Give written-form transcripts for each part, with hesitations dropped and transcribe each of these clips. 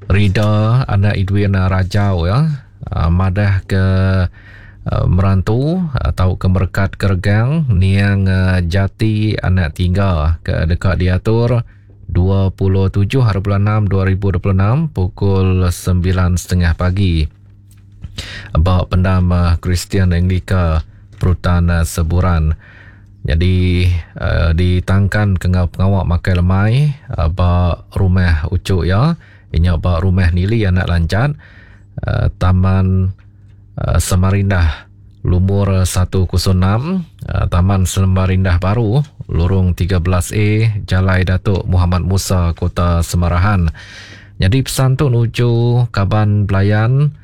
Rida anak Edwin Rajau ya madah ke merantu tauka merekat ke regang niang Jati anak Tingga ke deka diatur 27 hari bulan 6 2026 pukul 9.30 pagi ba pendam Kristian Anglika Perutan Seburan. Nyadi ditangkan ke enggau pengawa makai lemai ba rumah uchu iya, iya nya ba Rumah Nili Anak Lanjat, Taman Semarindah lumur 106, Taman Semarindah Baru, Lorong 13 A, Jalai Datuk Muhammad Musa, Kota Semarahan. Nyadi pesan tu nuju kaban belayan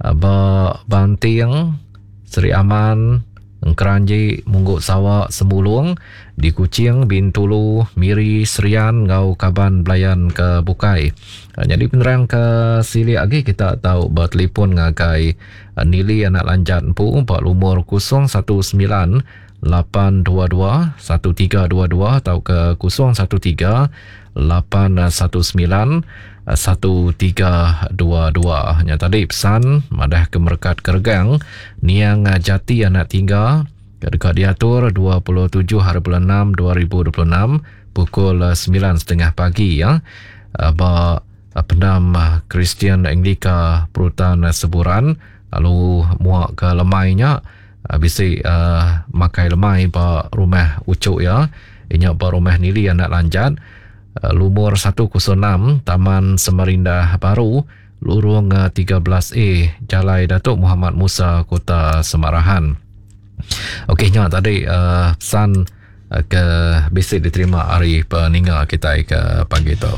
ba Banting, Sri Aman, Engkeranji, Munggu Sawa, Sembulung, di Kuching, Bintulu, Miri, Serian enggau kaban belayan ke bukai. Nyadi penerang ke silik agi kita tau betelefon ngagai Nili anak Lanjat empu ba lumur 019 822 1322 tauka 013 819 1322. Nya tadi pesan madah ke merekat keregang niang jati anak tingga ke deka diatur 27 hari bulan 6 2026 pukul 9.30 pagi ya ba pendam Kristian Anglika Perutan Seburan lalu muak ke lemai nya bisi uh, makai lemai ba rumah ucuk ya inya ba rumah Nili anak Lanjat Lumur 106 Taman Semarindah Baru, Lurung 13A, Jalai Datuk Muhammad Musa, Kota Semarahan. Okey nya tadi uh, pesan uh, ke bisi diterima ari peninga kitai ke pagi tu.